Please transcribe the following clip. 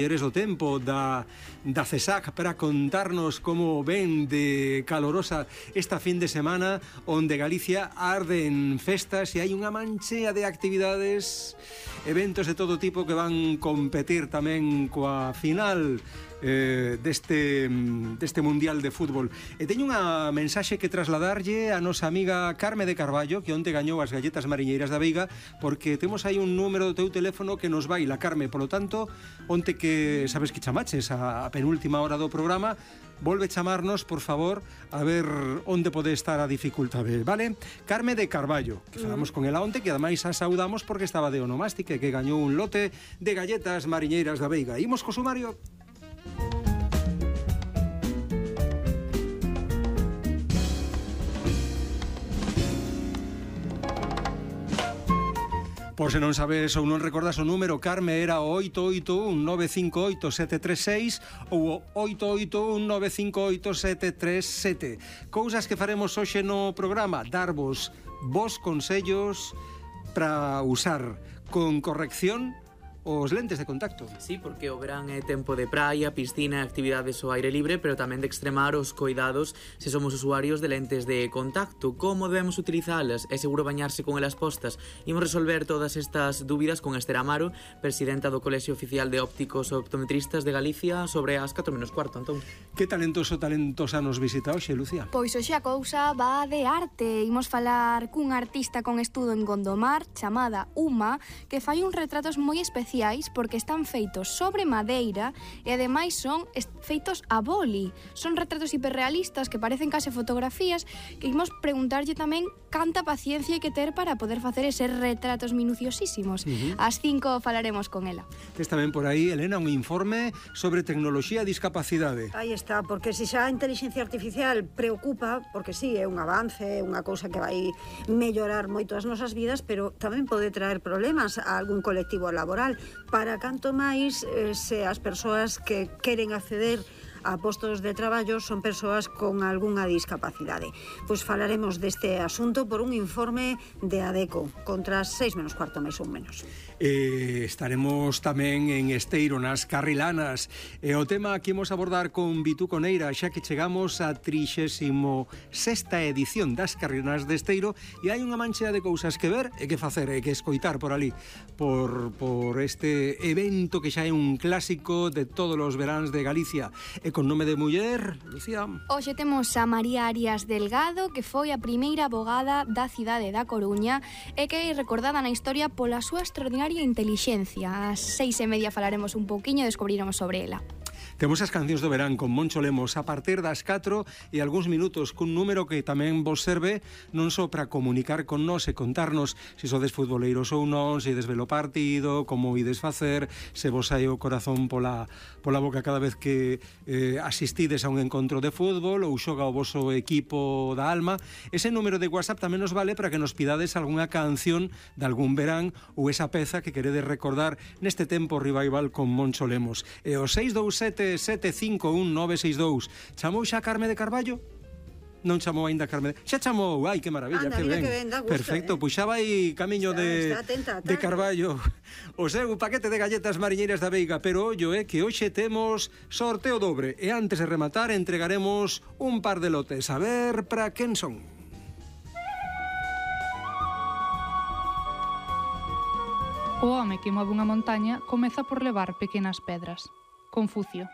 Eres o tempo da CESAC para contarnos como ven de calorosa esta fin de semana onde Galicia arde en festas e hai unha manchea de actividades, eventos de todo tipo que van competir tamén coa final deste Mundial de Fútbol. E teño unha mensaxe que trasladarlle a nosa amiga Carme de Carballo, que onte gañou as galletas mariñeiras da Veiga, porque temos aí un número do teu teléfono que nos baila, Carme. Por lo tanto, onte que sabes que chamaches a penúltima hora do programa, volve chamarnos, por favor, a ver onde pode estar a dificultade, vale? Carme de Carballo, que falamos con ela onte, que ademais a saudamos porque estaba de onomástica, que gañou un lote de galletas mariñeiras da Veiga. Imos co sumario. Por se non sabes ou non recordas o número, Carme, era o 881-958-736 ou o 881-958-737. Cousas que faremos hoxe no programa: darvos vos consellos para usar con corrección os lentes de contacto. Sí, porque o verán é tempo de praia, piscina, actividades ao aire libre, pero tamén de extremar os coidados se somos usuarios de lentes de contacto. Como debemos utilizalas? É seguro bañarse con elas postas? Imos resolver todas estas dúbidas con Esther Amaro, presidenta do Colexio Oficial de Ópticos e Optometristas de Galicia, sobre as 4:15, Antón. Que talentosa nos visita hoxe, Lucía? Pois hoxe a cousa va de arte. Imos falar cun artista con estudo en Gondomar, chamada Uma, que fai uns retratos moi especiais porque están feitos sobre madeira e ademais son feitos a boli. Son retratos hiperrealistas que parecen case fotografías, que imos preguntarlle tamén canta paciencia hai que ter para poder facer eses retratos minuciosísimos. Ás 5 falaremos con ela. Tes tamén por aí, Elena, un informe sobre tecnoloxía e discapacidade. Aí está, porque se xa a inteligencia artificial preocupa, porque sí, é un avance, é unha cousa que vai mellorar moito as nosas vidas, pero tamén pode traer problemas a algún colectivo laboral. Para canto máis se as persoas que queren acceder a postos de traballo son persoas con algunha discapacidade. Pois falaremos deste asunto por un informe de ADECO, contra as 6:15 máis ou menos. Estaremos tamén en Esteiro, nas Carrilanas. O tema que imos abordar con Vitú Coneira, xa que chegamos a 36ª edición das Carrilanas de Esteiro, e hai unha manchea de cousas que ver e que facer e que escoitar por ali, por este evento que xa é un clásico de todos os veráns de Galicia. E con nome de muller, Lucía. Hoxe temos a María Arias Delgado, que foi a primeira abogada da cidade da Coruña e que é recordada na historia pola súa extraordinaria intelixencia. Ás 6:30 falaremos un pouquiño e descubriremos sobre ela. Temos as cancións do verán con Moncho Lemos a partir das 4 e algúns minutos cun número que tamén vos serve non só para comunicar con nós e contarnos se sodes futboleiros ou non, se ides ver o partido, como ides facer, se vos hai o corazón pola boca cada vez que asistides a un encontro de fútbol ou xoga o voso equipo da alma. Ese número de WhatsApp tamén nos vale para que nos pidades algunha canción de algún verán ou esa peza que queredes recordar neste tempo revival con Moncho Lemos. E o 627-751-962. Chamou xa Carme de Carballo? Non chamou aínda Carme. Xa chamou, ai, que maravilla, que ben. Perfecto, pois xa vai camiño de Carballo o seu paquete de galletas mariñeiras da Veiga, pero ollo, que hoxe temos sorteo dobre e antes de rematar entregaremos un par de lotes. A ver para quen son. O home que move unha montaña comeza por levar pequenas pedras. Confucio.